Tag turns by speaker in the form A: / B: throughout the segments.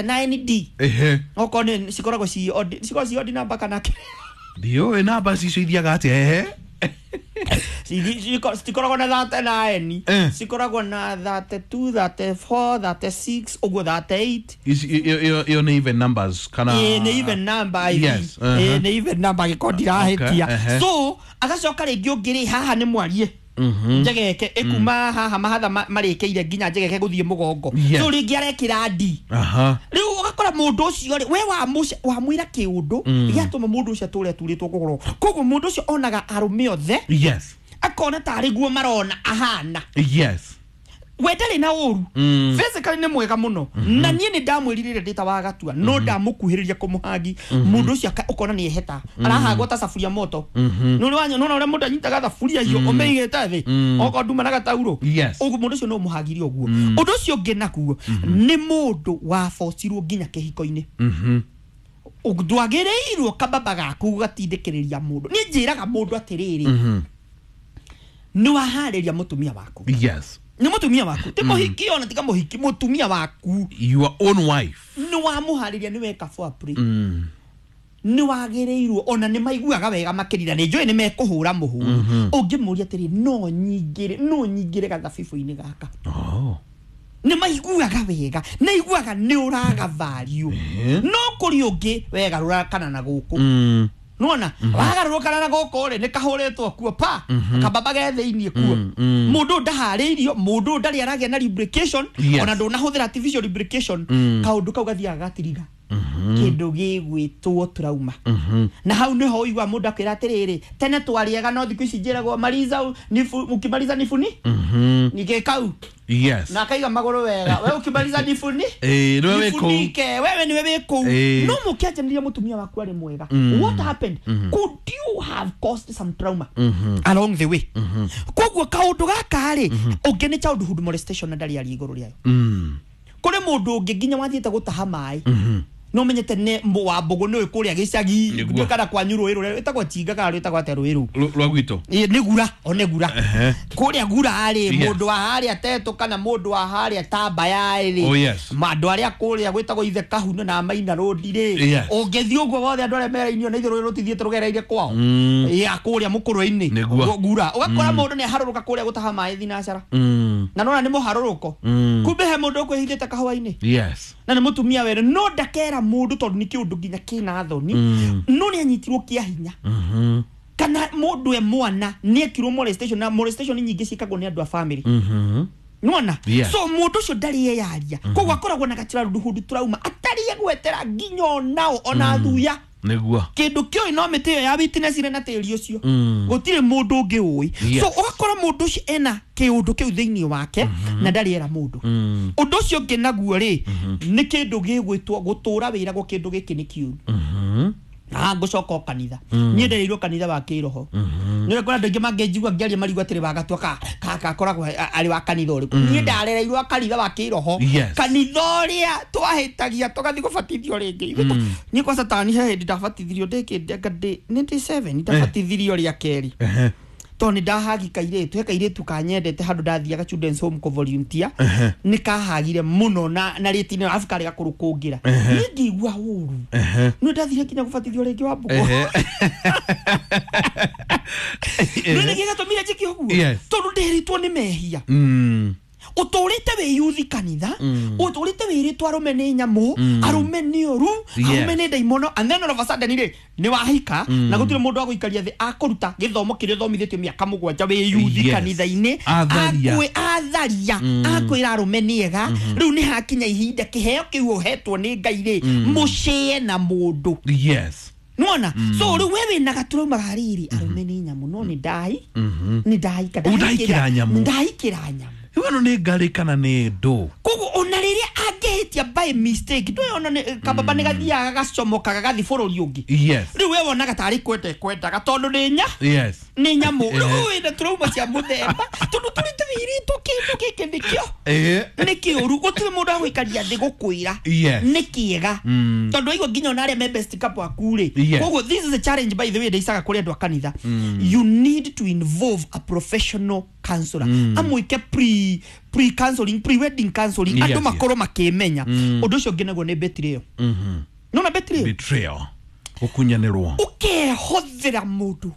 A: 9D.
B: Ehe.
A: Okorwo nĩ cikoragwo ci odd, cikoragwo ci odd number kana
B: Ndiũĩ namba cicio ithiaga atĩa, ehe.
A: Citikoragwo na 39.
B: Eh.
A: Cikoragwo na 32, 34, 36 ũguo, 38.
B: Ĩyo nĩ even numbers kana?
A: Ĩĩ, nĩ even number I
B: Yes,
A: think. Ĩĩ, nĩ even number angĩkorwo ndirahĩtia.
B: Okay, ehe.
A: So agacoka rĩngĩ ũngĩ rĩ, haha nĩ mwarie njegeke ĩkuma haha mahatha marĩkĩire nginya njegeke gũthiĩ mũgongo. So rĩngĩ arekĩra D. Rĩu ũgakora mũndũ ũcio rĩ, we wamwĩra kĩũndũ gĩatũma mũndũ ũcio atũre aturĩtwo kũgũrũ, koguo mũndũ ũcio onaga arũme othe akona tarĩ guo marona ahana. We ndarĩ na ũru. Physically nĩ mwega mũno, na niĩ nĩ ndamwĩrirĩre ndĩ ta wa gatua, no ndamũkuhĩrĩria kũmũhangi, mũndũ ũcio ũkona nĩ eheta, arahangwo ta caburia moto. Nĩ ũrĩ nona ũrĩa mũndũ anyitaga thaburia hiyo ũmĩigĩte thĩ okorwo nduma na gatauro? Ũguo mũndũ ũcio no ũmũhagire ũguo. Ũndũ ũcio ũngĩ naguo nĩ mũndũ wabocirwo nginya kĩhiko-inĩ. Ndwagĩrĩirwo kababa gaku gatindĩkĩrĩria mũndũ. Niĩ njĩraga mũndũ atĩrĩrĩ, nĩ waharĩria mũtumia waku. Nĩ mũtumia waku, ti mũhiki, ona tiga mũhiki, mũtumia waku.
B: Your own wife.
A: Nĩ wamũharĩria, nĩ weka foreplay. Nĩ wagĩrĩirwo, ona nĩ maiguaga wega makĩria, nĩ njũĩ nĩ mekũhũra mũhũri, ũngĩmũria atĩrĩ, no nyingĩre gathabibũ-inĩ gaka?
B: Oh.
A: Nĩ maiguaga wega, nĩ aiguaga nĩ ũraga value. No kũrĩ ũngĩ wegarũra kana na gũkũ. Nona wagarũrũkana na gũkũ rĩ, nĩ kahũrĩtwo kuo pa kababa ge thĩiniĩ kuo. Mũndũ ũyũ ndaharĩirio, mũndũ ũyũ ndarĩ aragĩa na lubrication. Ona ndũnahũthĩra artificial lubrication. Kaũndũ kau gathiaga gatiriga kĩndũ gĩgwĩtwo trauma. Na hau nĩho ũigua mũndũ akwĩra atĩrĩrĩ, tene twarĩaga, no thikũ ici njĩragwo maliza nifu, ukimaliza nifuni nike kau. Na akaiga magũrũ wega, we ukimaliza nifuni.
B: Eh, nĩwe wĩ kũu.
A: Nifunike, wewe niwe wĩ kũu. No mũkĩanjanĩria mũtumia waku arĩ mwega, what happened? Could you have caused some trauma along the way? Koguo kaũndũ gaka rĩ, ũngĩ nĩ childhood molestation, na ndarĩ aria igũrũ rĩayo. Kũrĩ mũndũ ũngĩ nginya wathiĩte gũtaha maĩ, no menyete nĩ wa mbũgũ, nĩ kũrĩa gĩcagi.
B: Nĩguo.
A: Kana kwanyu rũĩ rũrĩa rwĩtagwo Chinga kana rwĩtagwo atĩa rũĩ rũu?
B: Rwa gwitũ.
A: Ĩ, nĩ gura, o nĩ gura. Kũrĩa gura rĩ, mũndũ wa harĩa tetũ kana mũndũ wa harĩa Tambaya rĩ,
B: Oh, yes.
A: andũ arĩa kũrĩa gwĩtagwo ithe Kahuno na Maina Road rĩ, ũngĩthiĩ ũguo wothe, andũ arĩa merainio na ithuĩ rũĩ rũtithiĩte rũgereire kwao ya kũrĩa mũkũrwe-inĩ.
B: Nĩguo.
A: Gura ũgakora mũndũ nĩ aharũrũka kũrĩa gũtaha maĩ thinacara. Na nona nĩ mũharũrũko. Kumbe he mũndũ ũkwĩhithĩte kahũa-inĩ. Na nĩ mũtumia wene, no ndakera mũndũ tondũ nĩ kĩũndũ nginya kĩna thoni. No nĩ anyitirwo kĩa hinya kana mũndũ e mwana nĩ ekirwo molestation, na molestation nyingĩ ciĩkagwo nĩ andũ a family. Nona? So mũndũ ũcio ndarĩ eyaria, koguo akoragwo na gachildhood trauma atarĩ egwetera nginya onao ona thuya.
B: Nĩguo.
A: Kĩndũ kĩoĩ no mĩtĩ ĩyo ya witness ire na tĩri ũcio. Gũtirĩ mũndũ ũngĩ ũĩ. So ũgakora mũndũ ũcio ena kĩũndũ kĩu thĩinĩ wake na ndarĩ era mũndũ. Ũndũ ũcio ũngĩ naguo rĩ, nĩ kĩndũ gĩgwĩtwo gũtũra wĩragwo kĩndũ gĩkĩ nĩ kĩũru. Na ngũcoka o kanitha, niĩ ndereirwo kanitha wa kĩroho. Nĩ ũrĩa andũ aingĩ mangĩnjigua ngĩaria marigwo atĩrĩ, wagatua ka akoragwo arĩ wa kanitha ũrĩkũ? Niĩ ndarereirwo kanitha wa kĩroho. Kanitha ũrĩa twahĩtagia tũgathiĩ gũbatithio rĩngĩ. Niĩ kwa satani he hĩndĩ ndabatithirio ndĩ ndĩ nĩ ndĩ 7, ndabatithirio rĩa kerĩ. Tondũ nĩ ndahagi kairĩtu, he kairĩtu kanyendete handũ ndathiaga children's home kũ volunteer. Nĩ kahagire mũno na rĩti arabu karĩ gakũrũ kũngĩra. Niĩ ngĩigua ũru. Nĩ ndathire nginya gũbatithio rĩngĩ wa mbũkũ. Nĩ nĩkĩ gĩatũmire njĩke ũguo? Tondũ ndĩrĩtwo nĩ mehia. Ũtũrĩte wĩ yuthi kanitha, ũtũrĩte wĩrĩtwo arũme nĩ nyamũ, arũme nĩ ũru, arũme nĩ ndaimono, and then all of a sudden rĩ, nĩ wahika na gũtirĩ mũndũ wa gũikaria thĩ akũruta gĩthomo kĩrĩa ũthomithĩtio mĩaka 7 wĩ yuthi kanitha-inĩ.
B: Atharia.
A: Atharia akwĩra arũme nĩ ega. Rĩu nĩ hakinya ihinda kĩheo kĩu ũhetwo nĩ Ngai rĩ, mũcĩe na mũndũ. Nĩwona? So rĩu we wĩna gaturuma ga rĩrĩ, arũme nĩ nyamũ, no nĩ ndai nĩ ndaika.
B: Ũũ ndahikĩra nyamũ.
A: Ndahikĩra nyamũ.
B: Rĩu ĩno nĩ ngarĩ kana nĩ ndũ?
A: Koguo ona rĩrĩa angĩhĩtia by mistake, ndũĩ ona kababa nĩ gathiaga gacomoka gagathi bũrũri ũngĩ. Rĩu we wonaga tarĩ kwenda kwendaga tondũ nĩ nya nĩ nyamũ. Rĩu wĩna trauma cia mũthemba tondũ tũrĩ tũwĩrĩtwo kĩndũ gĩkĩ nĩkĩo nĩ kĩũru, gũtirĩ mũndũ agũikaria thĩ gũkwĩra nĩ kĩega. Tondũ aigua nginya ona arĩa me best couple aku rĩ. Koguo this is a challenge, by the way, ndaicaga kũrĩ andũ a kanitha. You need to involve a professional counselor amwĩke pre counseling, pre wedding counseling, andũ makorwo makĩmenya. Ũndũ ũcio ũngĩ naguo nĩ betrayal. Nona betrayal?
B: Betrayal, gũkunyanĩrwo.
A: Ũkehothera mũndũ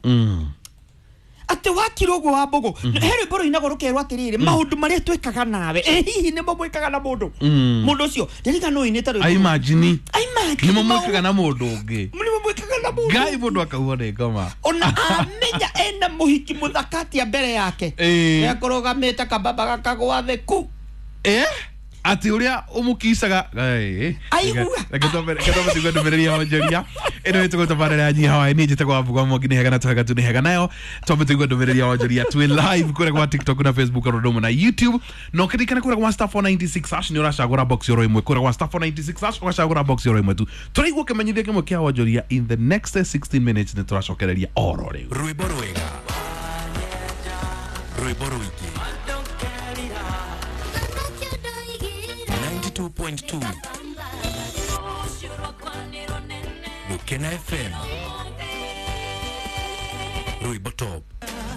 A: atĩ wakira ũguo wa mbũgũ, he rwĩmbo rũinagwo rũkerwo atĩrĩrĩ, maũndũ marĩa twĩkaga nawe, ĩ hihi nĩmo mwĩkaga na mũndũ mũndũ ũcio? Ndirikana ũinĩte rwĩmbo.
B: Aimagine.
A: Aimagine.
B: Nĩmo mwĩkaga na mũndũ ũngĩ.
A: Nĩmo mwĩkaga na mũndũ.
B: Ngai, mũndũ akaua nĩ ngoma.
A: Ona amenya ena mũhiki mũthaka atĩa mbere yake, ekũrũgamĩte kababa gakagwa thĩ ku.
B: Atĩ ũrĩa ũmũkicaga.
A: Aigua.
B: Reke twambe tuigue ndũmĩrĩri ya onjoria ĩno ĩtũgwo tabarĩra ya nyiha waĩ. Niĩ njĩtagwo Wambugwa Mwangi. Nĩ hega na tũhega tu nĩ hega nayo. Twambe tuigue ndũmĩrĩri ya onjoria. Twĩ live kũrĩa gwa TikTok na Facebook o ũndũ ũmwe na YouTube, na ũkĩririkana kũrĩa gwa *496# nĩ ũracagũra box oro ĩmwe. Kũrĩa gwa *496# ũgacagũra box oro ĩmwe tu. Tũraigua kĩmenyithia kĩmwe kĩa onjoria in the next 16 minutes. Nĩ tũracokereria oro rĩu.
C: Rwĩmbo rwega, rwĩmbo rũingĩ, 92.2 Gukena FM, rwĩmbo top.